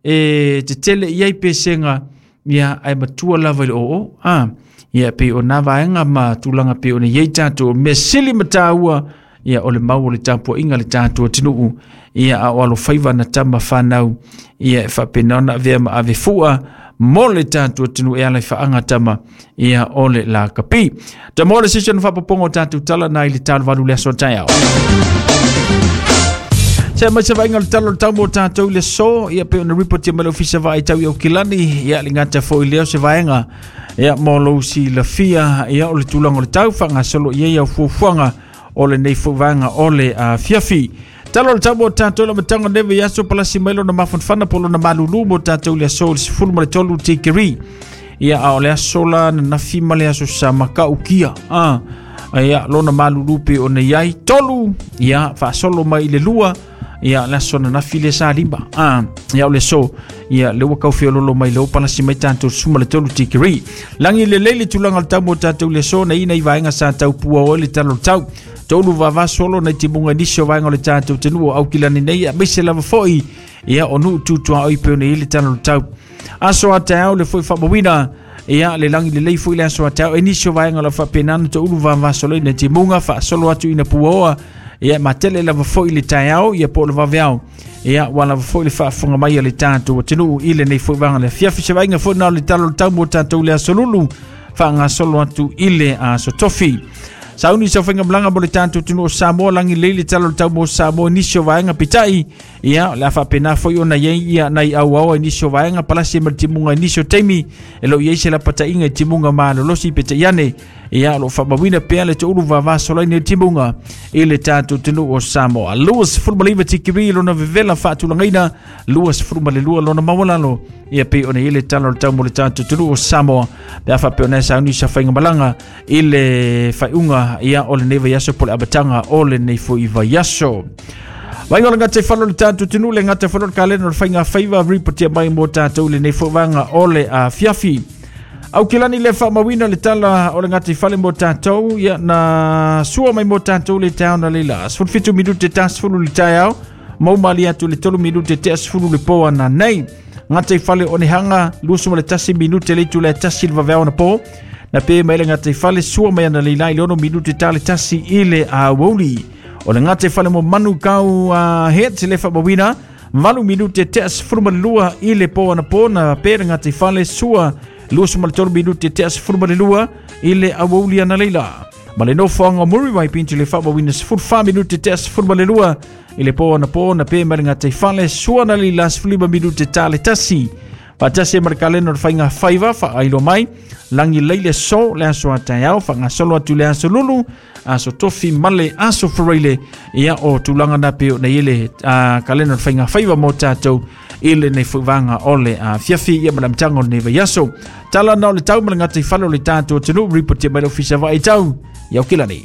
E tetele i ai pesega, ia ae matua lava i le oo. Ia pei o nā vaega ma tulaga pei ona i ai tatou mea sili ma taua, ia o le mau o le tapuaiga le tatou atunuu, ia a o alofaiva na tama fanau, ia e faapena ona avea ma ave fua mo le tatou atunuu e ala i faaga tama, ia o le lakapi. Ta mo le sisi ona faapopoga o tatou tala na i le 8 le aso taeao. Se mai se vaaiga o le tala o le tau mo tatou i le aso, ia pei ona ripotia mai le ofisa vaai tau i Aukilani, ia le gata foi lea o se vaega, ia mo lou silafia, ia o le tulaga o le tau faagasolo i ai au fuafuaga o lenei foi vaega o le afiafi. Tala o le tau mo tatou le amataga o lenei vaiaso, palasi mai lona mafanafana po o lona malulu mo tatou i le aso i le 13 tikeri. Ia a o le aso la nanafi ma le aso sa makaukia. Ia lona malulu pe ona i ai 3, ia faasolo mai i le 2, ia le aso nanafi le sa 5. Ia o le aso, ia le ua kaufeololo mai le palasi mai tatou 13 tikeri. Langi le lele tulaga o le tau mo tatou le aso na ina i vaega sa tau pua o le tala o le tau. Tolu vavasolo na timunga nisi o vaega o le tatou atunuu o Aukilani nei, aemaise lava foi ia o nuu tutuaoi pe ona i le tala o le tau. Aso a taeao le foi faamauina, ia le langi lelei foi le aso a taeao e nisi o vaega o le faapena na toulu vavasolo ina timunga faasolo atu ina puaoa, ia matele lava foi le taeao ia po o le vaveao, ia ua lava foi le faafofoga mai a le tatou atunuu i lenei foi vaega le afiafi. Se vaaiga foi na o le tala o le tau mo tatou le aso lulu faagasolo atu i le aso tofi. Sauni sa faiga malaga mo le tatou atunuu o Samoa, langi lelei le tala o le tau mo Samoa i nisi o vaega peitai, ia o le a faapena foi ona i ai ia nai auaoa i nisi o vaega palasi ma le timuga i nisi o taimi e lo i ai se lapataiga i timuga malolosi peitai ane, ia o lo o faamauina pea le toulu vavasolaina i timuga i le tatou atunuu o Samoa. 29 tikeri lona vevela faatulagaina, 22 lona maualalo, ia pei ona i ai le tala o le tau mo le tatou atunuu o Samoa pe a faapea ona e sauni sa faiga malaga i le faaiuga ia o lenei vaiaso po o le amataga o lenei foi vaiaso. Vaaiga o le gata i falo o le tatou atunuu, le gata falo o le kalena o le faiga faiva ripotia mai mo tatou i lenei foi vaega o le afiafi. Aukilani le faamauina le tala o le gata i fale mo tatou, ia na sua mai mo tatou le taeao na leila. 17 minute ta 10 le taeao, mau mali atu le 3 minute te 10 le po ana nei. Gata i fale o nehanga, 21 minute le itu le tasi le vaveao na po. Na pe mai le gata i fale sua mai ana leila i le 6 minute ta le tasi i le aouli. O le gata i fale mo manu kau het le faamauina, 8 minute te 12 i le po ana po na pe le gata i fale sua 23 minute te 12 i le aouli ana leila. Ma le nofoaga o Muriwai Pinto le faamauina 14 minute te 12 i le po ana po na pe mai le gata i fale sua na leila 15 minute ta le tasi. Faatasi ma le kalena o le faiga faiva faailo mai, langi lei le so le aso a taeao, faagasolo atu le aso lulu, aso tofi ma le aso faraile, ia o tulaga na pe ona i le kalena o le faiga faiva mo tatou i lenei foi vaega o le afiafi, ia ma le amataga o lenei vaiaso. Tala na o le tau ma le gata i fale o le tatou atunuu, ripotia mai le ofisa vaai tau i Aukilani.